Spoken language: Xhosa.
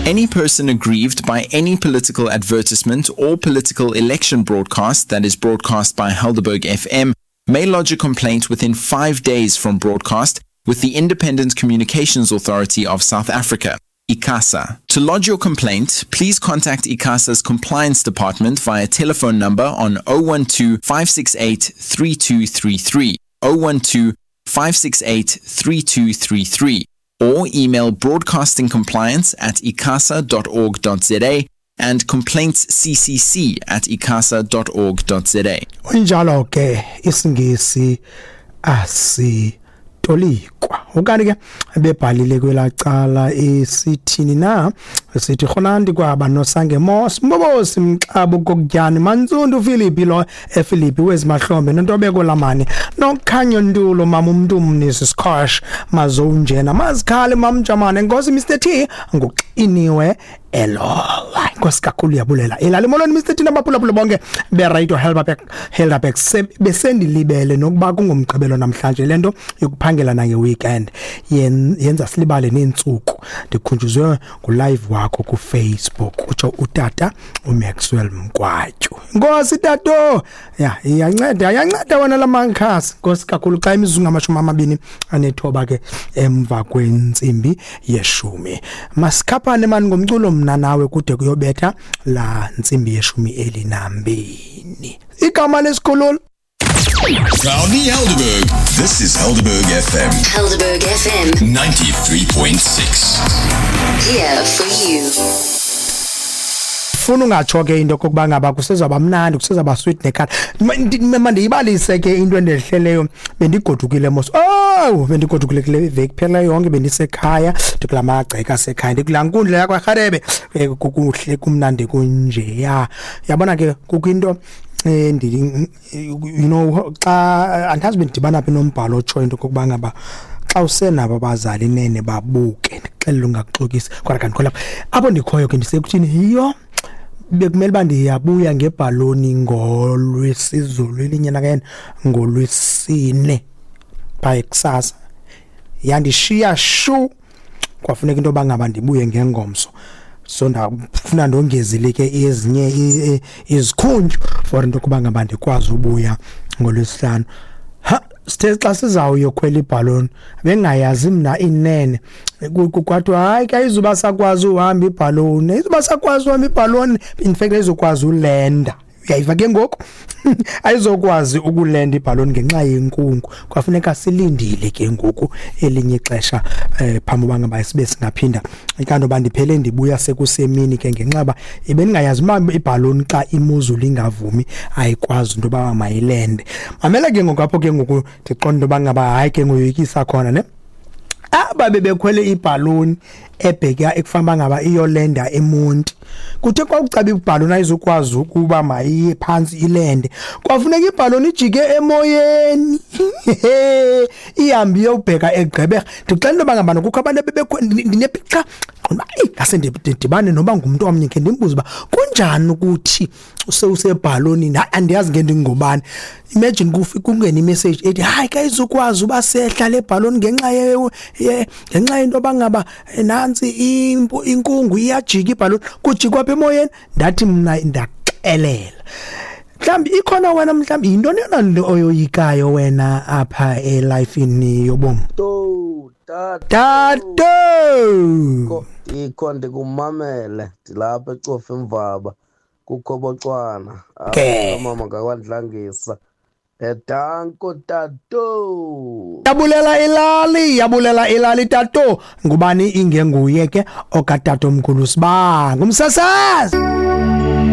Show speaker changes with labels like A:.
A: Any person aggrieved by any political advertisement or political election broadcast that is broadcast by Helderberg FM may lodge a complaint within 5 days from broadcast with the Independent Communications Authority of South Africa, ICASA. To lodge your complaint, please contact ICASA's compliance department via telephone number on 012 568 3233, 012 568 3233, or email broadcastingcompliance at icasa.org.za and complaintsccc at icasa.org.za.
B: Unjalo ke isiNgisi asitolikwa. Ukanti ke bebhalile kwelacala esithini na, sithi rhonandi kwaba nosange mos mbobosi mxabo kokutyani Mantsundu Philippi lo ePhilippi wezimahlombe nontobeko lamani nokhanyo ntulo mama umntu mnisi Scosh mazonjena mazikhale mamjamane Nkosi Mr T nguxiniwe elowa. Inkosi kakhulu, yabulela elali. Molweni Mr T nabaphulaphula bonke be-Radio Helderberg Helderberg. Besendilibele nokuba kungumgqibelo namhlanje. Lento yokuphangela nange-weekend yenza silibale neentsuku. Ndikhunjuzwe ngulive wakho kuFacebook, utsho utata uMaxwell Mkwatyu. Nkosi tato, ya iyanceda, iyanceda wena la mankhasi. Nkosi kakhulu. Xa imizuzu ngama-29 ke emva kwentsimbi yeshumi, masikhaphane mani ngomculo mna nawe kude kuyobetha la ntsimbi yeshumi elinambini. Igama lesikhululo.
C: Proudly Helderberg. This is Helderberg FM.
D: Helderberg FM.
C: 93.6.
D: Here for you.
B: Funa ungatsho ke into kokuba ngaba kusezawuba mnandi, kusezawuba sweet nekhala. Mandiyibalise ke into endehleleyo. Bendigodukile mos. Oh, bendigodukile kule veki phela yonke, bendisekhaya, ndikula magceka asekhaya, ndikulaa nkundla yakwaRharebe. Kukuhle, kumnandi kunjeya. Yabona ke kukho into xa andazi bendidibana phi nombhalo otshoyo into kokuba ngaba xa usenabo abazali nene babuke. Ndixelele ungakuxokisi, kodwa kanti khona apho ndikhoyo ke ndisekuthini yiyo. Bekumele uba ndiyabuya ngebhaloni ngolwesizulu elinye nakena ngolwesine phaa kusasa, yandishiya shu, kwafuneka into yoba ngaba ndibuye ngengomso. So ndafuna ndongezile ke ezinye izikhunju for into yokuba ngaba ndikwazi ubuya ngolwesihlanu. Ha, sithe xa sizawuyokhwela ibhaloni, bengayazi mna inene, kwathiwa hayi ke ayizuba sakwazi uhamba ibhaloni, ayizuba sakwazi uhamba ibhaloni, in fact ayizokwazi ulenda. Uyayiva ke ngoku, ayizokwazi ukulenda ibhaloni ngenxa yenkungu. Kwafuneka silindile ke ngoku elinye ixesha phambi uba ngaba sibe singaphinda. Ikanti uba ndiphele ndibuya sekusemini ke ngenxa uba ebendingayazi uba ibhaloni xa imozulu ingavumi ayikwazi into yoba mayilende. Mamela ke ngoku apho ke ngoku ndiqonda into yoba ngaba hayi ke ngoyoyikisa khona ne. Aba bebekhwele ibhaloni ebheka ekufanele ngaba iyolenda eMonti, kuthe kwakucaba ibhaloni ayizukwazi ukuba mayiye phantsi ilende, kwafuneka ibhaloni ijike emoyeni ihambe iyobheka eGqeberha. Ndixela into yoba ngabana kukho abantu ndinepicture, eyi ngase ndidibane noba ngumntu omnye khe ndimbuze uba kunjani ukuthi sewusebhalonini. Hayi, andiyazi ke ndingubani. Imagine kungene imessage ethi hayi ke ayizukwazi uba sehla le bhaloni ngenxa yento yoba ngaba nantsi inkungu iyajika ibhaloni, kujikwa apha emoyeni. Ndathi mna ndaxelela mhlawumbi ikhona wena, mhlawumbi yintoni yona nto oyoyikayo wena apha elifini yobomi?
E: To tata.
B: Tato.
E: Ikho ndikumamele ndilapha ecofa imvaba kukhobocwana.
B: Ke.
E: Mama ngakwandlangisa edanko tato.
B: Yabulela ilali, yabulela ilali tato. Ngubani ingenguye ke okatato omkhulu sibanga umsasazi.